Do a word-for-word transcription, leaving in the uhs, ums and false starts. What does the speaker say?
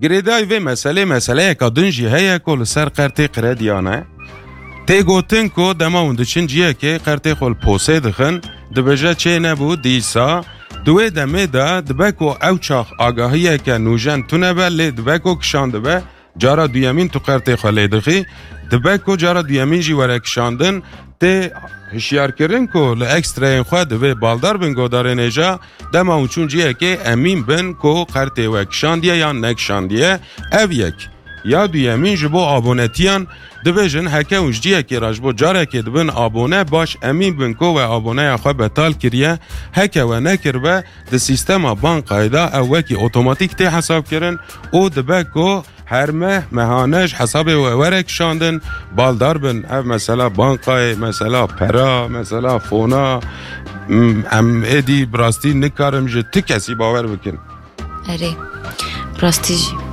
Girêdayî vê meselê, meseleyeka din jî heye ku li ser qertê krediyan e. Tê gotin ku dema hûn diçin ciyekê, qertê xwe li posê dixin, dibêje çê nebû, dîsa di wê demê de dibe ku ew çax agahiyeke nûjen tune be, lê dibe ku kişandibe, cara duyemîn tu qertê xwe lê dixî, dibe ku cara duyemîn jî were kişandin, tê hişyarkirin ku li ekstreyên xwe divê baldar bin godarên hêja, dema hûn çûn ciyekê emîn bin ku qertê we kişandiye yan nekişandiye. Ev yek. Ya duyemîn, ji bo abonetiyan dibêjin, heke hûn ji ciyekê re ji bo carekê dibin abone, baş emîn bin ku we aboneya xwe betal kiriye. Heke we nekiribe, di sîstema bankayê de ew wekî otomatîk tê hesabkirin û dibe ku her meh, mehane ji hesabê we were kişandin, baldar bin. Ev mesela bankayê, mesela pera, mesela fona, m-, em êdî bi rastî nikarim ji ti kesî bawer bikin. Erê, bi rastî jî.